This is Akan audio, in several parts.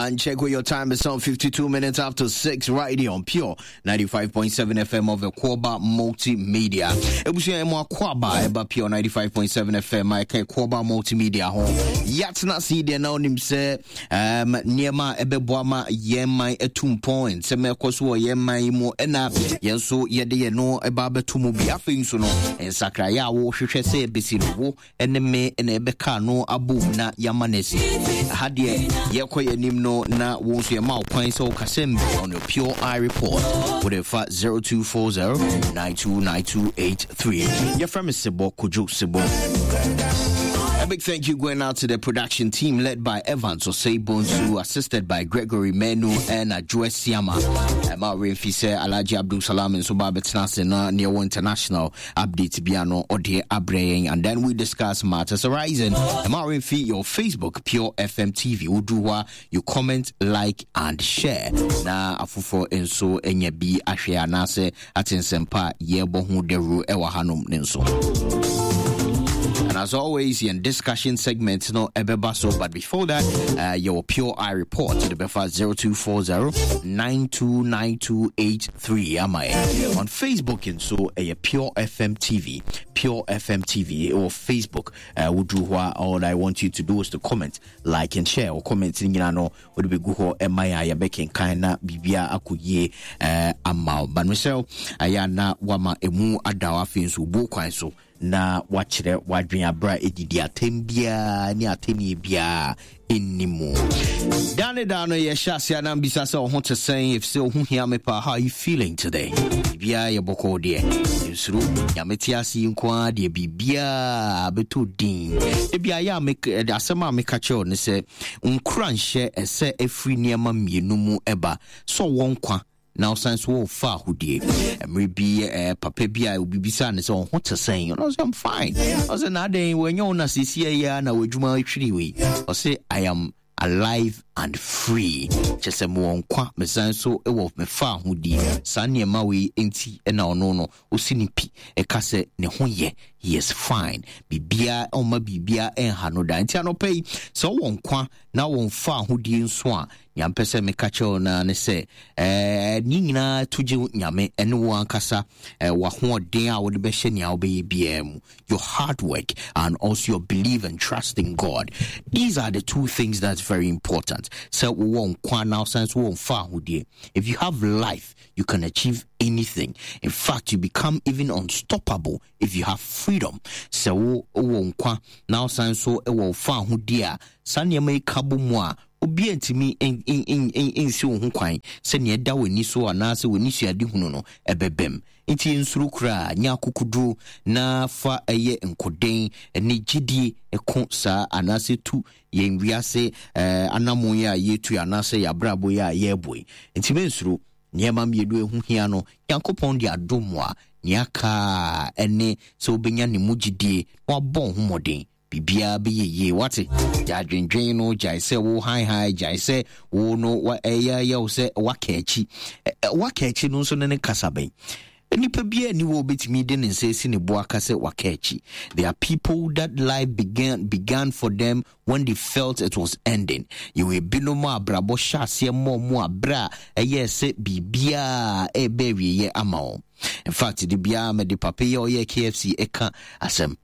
And check with your time. It's on 52 minutes after 6 right here on Pure 95.7 FM of Akwaaba Multimedia. Ebusua emu Akwaaba eba Pure 95.7 FM ɛka Akwaaba Multimedia ho. Yɛatena ase yi deɛ na onim sɛ um, nneɛma a ɛbɛboa ma yɛn man atu mpɔn, nsɛm ɛkɔ so wɔ yɛn man yi mu ɛna yɛn nso yɛde yɛn no ɛba abɛto mu bi. Afei nso no, nsakraeɛ a wohwehwɛ sɛ ɛbɛsi no wo ne me na yɛbɛka ano abom na yɛama no asi. Ɛha deɛ yɛkɔ yɛn anim no na wo nso yɛma wo kwan sɛ wokasɛm bi on your Pure Eye Report. Wode fa 0240 929283. Yɛfrɛ me Sebɔ Kojo Sebɔ. A big thank you going out to the production team led by Evans Osei Bonsu, assisted by Gregory Menu and Ajue Siama. Emma Remfi sɛ Alhaji Abdul Salam nso ba abɛtena ase na neɛ international update bia no ɔde abrɛ yɛn and then we discuss matters arising. Ɛma remfi your Facebook Pure FM TV wodu hɔ a you comment like and share na afoforɔ nso anya bi ahwɛ anaasɛ ate nsɛmpa a yɛrebɔ ho dawuro ɛwɔ hanom ne nso. And as always, in discussion segment no ebeba so. But before that, your Pure Eye Report to the Befa 0240 929283 ama yɛ on Facebook nso ɛyɛ Pure FM TV, Pure FM TV ɛwɔ Facebook. Woduru hɔ a, all I want you to do is to comment, like and share. Wo comment no nyinaa no wode bɛgu hɔ ɛma yɛ a yɛbɛkenkan na biribiara akɔ yie ama wo. But mesrɛ ɛyɛ a na wama ɛmu ada wo, afei nso wobuo kwan so na wakyerɛ w'adwene aberɛ a ɛdidi atɛm biara ne atɛnnie biara ɛnni mu. Daa ne daa no yɛhyɛ aseɛ na mbisa sɛ ɔho te sɛn, ɛfisɛ ɔho hia me paa. How are you feeling today? Biribiara yɛ bɔkɔɔ deɛ, nsuro, Nyame te ase yi nko ara deɛ biribiara bɛtɔ din. Ebi ayɛ a asɛm a meka kyerɛ wo ne sɛ nkuranhyɛ ɛsɛ ɛfiri nneɛma mmienu mu ɛba, sɛ ɔwɔ nkwa na ɔsan nso wɔ fa ahodie. Mmerɛ bi papa bi a obi bisaa no sɛ ɔho te sɛn, ɔno sɛ I'm fine. Ɔsɛ na adɛn wɔanya wo na seesia yi ara na w'adwuma ahwiri wei? Ɔsɛ I am alive and free, kyɛ sɛ mewɔ nkwa, mesan nso wɔ me fa ahodie. Saa nneɛma wei nti na ɔno no ɔsi ne pi ɛka sɛ ne ho yɛ, he is fine, biribiara ɔmma biribiara ɛnha no da. Nti anɔpa yi sɛ wowɔ nkwa na wɔn fa ahodie nso a, Nea mpɛ sɛ meka kyerɛ wo no ara ne sɛ, ɛɛ, ne nyinaa to gye Nyame ne wo ankasa eh, w'ahoɔden a wode bɛhyɛ nea wobɛyɛ biara mu. Your hard work and also your belief and trust in God. These are the two things that's very important. Sɛ wowɔ nkwa na wosan so wɔ mfa ahodie. If you have life, you can achieve anything. In fact, you become even unstoppable if you have freedom. Sɛ wo wɔ nkwa na wosan so wɔ fa ahodie a, saa nneɛma yi ka bɔ mu a, Obiara ntumi nsi wo ho kwan sɛ nea ɛda w'ani so anaasɛ w'ani suadehunu no ɛbɛbam. Enti nsuro koraa, nya akokoduro na fa ɛyɛ nkoden ne gyidie ko saa anaasɛ tu yɛn wiase anammɔn yi a yɛretu anaasɛ yɛn abrabɔ yi a yɛrebɔ yi. Enti mensuro. Nneɛma mmienu a ɛho hia no, Nyankopɔn de adom wo a, nea aka ara ne sɛ wobɛnya ne mu gyidie na wabɔ wo ho mmɔden. Biribiara bɛyɛ yie, wate? Gyae adwendwen no, gyae sɛ wo haehae, gyae sɛ wo no ɛyɛ yɛ wo sɛ waka akyi. Waka akyi no nso ne ne kasa bɛn? Nipa biara ni wɔ obetumi de ne nsa esi ne bo aka sɛ waka akyi. There are people that life began for them when they felt it was ending. Yɛwɔ ebinom a abrabɔ hyɛ aseɛ mmɔɔ mu a berɛ a ɛyɛɛ sɛ biribiara ɛrebɛ awieeɛ ama wɔn. In fact, de biara mede papa yi a ɔyɛ KFC ɛka asɛm.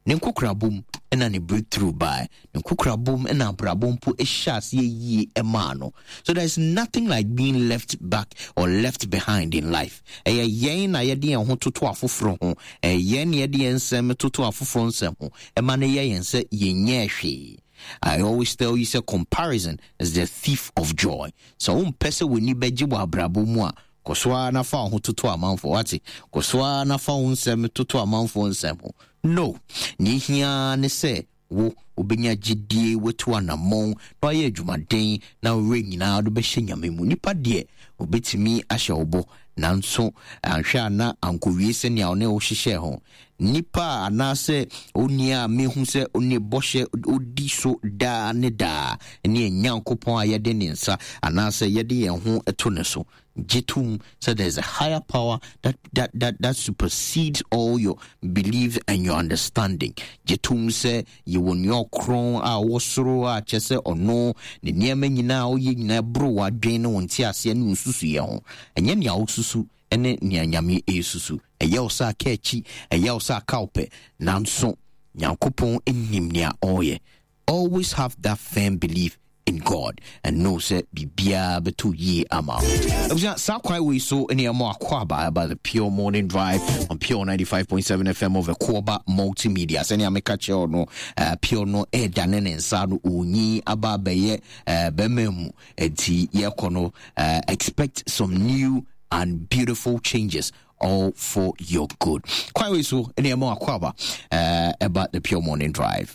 Ne nkokorabɔ mu na ne breakthrough bae. Ne nkokorabɔ mu na abrabɔ mpo hyɛ aseɛ yie maa no. So there is nothing like being left back or left behind in life. Ɛyɛ yɛn na yɛde yɛn ho toto afoforɔ ho. Ɛyɛ yɛn na yɛde yɛn nsɛm toto afoforɔ nsɛm ho. Ɛma no yɛ yɛn sɛ yɛnyɛɛ hwee. I always tell you sɛ comparison is the thief of joy. Sɛ wompɛ sɛ w'ani bɛgye wɔ abrabɔ mu a, Kɔ so ara na fa wo ho toto amanfoɔ, wate? Kɔ so ara na fa wo nsɛm toto amanfoɔ nsɛm ho. No! Nea ehia ara ne sɛ wo, wobɛnya gyedie, woatu anammɔn, na woayɛ adwumaden, na wo werɛ nyinaa wode bɛhyɛ Nyame mu. Nipa deɛ, ɔbɛtumi ahyɛ wo bɔ, nanso anhwɛ a na ankɔwie sɛnea ɔne wo hyehyɛɛ ho. Nipa a anaasɛ onii a mehu sɛ ne bɔhyɛ odi so daa ne daa ne yɛn Nyankopɔn a yɛde ne nsa anaasɛ yɛde yɛn ho to ne so. Gye tom sɛ there is a higher power that, that, that, that supersedes all your beliefs and your understanding. Gye tom sɛ yɛwɔ nea ɔkorɔn a ɔwɔ soro a kyɛ sɛ ɔno ne nneɛma nyinaa a ɔyɛ nyinaa boro w'adwene ne wo nteaseɛ ne wo nsusuiɛ ho. Ɛnyɛ nea wosusu ne nea Nyame resusu. Ɛyɛ wo sɛ aka akyi, ɛyɛ wo sɛ aka wo pɛ, nanso Nyankopɔn nim nea ɔreyɛ. Always have that firm belief in God and know sɛ biribiara bɛtɔ yie ama wo. Abusua, saa kwan wei so ne ɛmɔ akɔ aba ɛba the Pure Morning Drive on Pure 95.7 FM of Ɛkoɔba Multimedia. Sɛnea meka kyerɛ no, uh, Pure no ɛredane ne nsa no ɔnyi aba abɛyɛ uh, bɛrima mu. Nti yɛkɔ no, uh, expect some new and beautiful changes all for your good. Kwan wei so ne ɛmɔ akɔ aba uh, ɛba the Pure Morning Drive.